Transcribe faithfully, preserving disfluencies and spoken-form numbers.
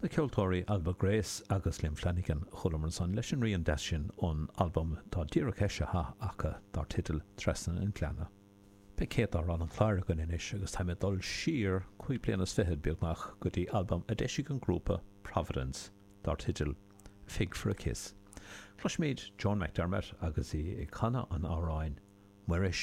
Na ceoltóirí Alba Grace agus Liam Flanagan chualamar ansan leis an rian deas sin ón albam atá díreach eisithe acu dar teideal Trasna an Ghleanna. Beidh céad amhrán an chláir againn anois agus táim ag dul siar cúig bliana is fichead beagnach go dtí albam a d'eisigh an grúpa Providence dar teideal Fig for a Kiss. Cloisfimid Joan McDermott agus í ag canadh an amhráin Muiris.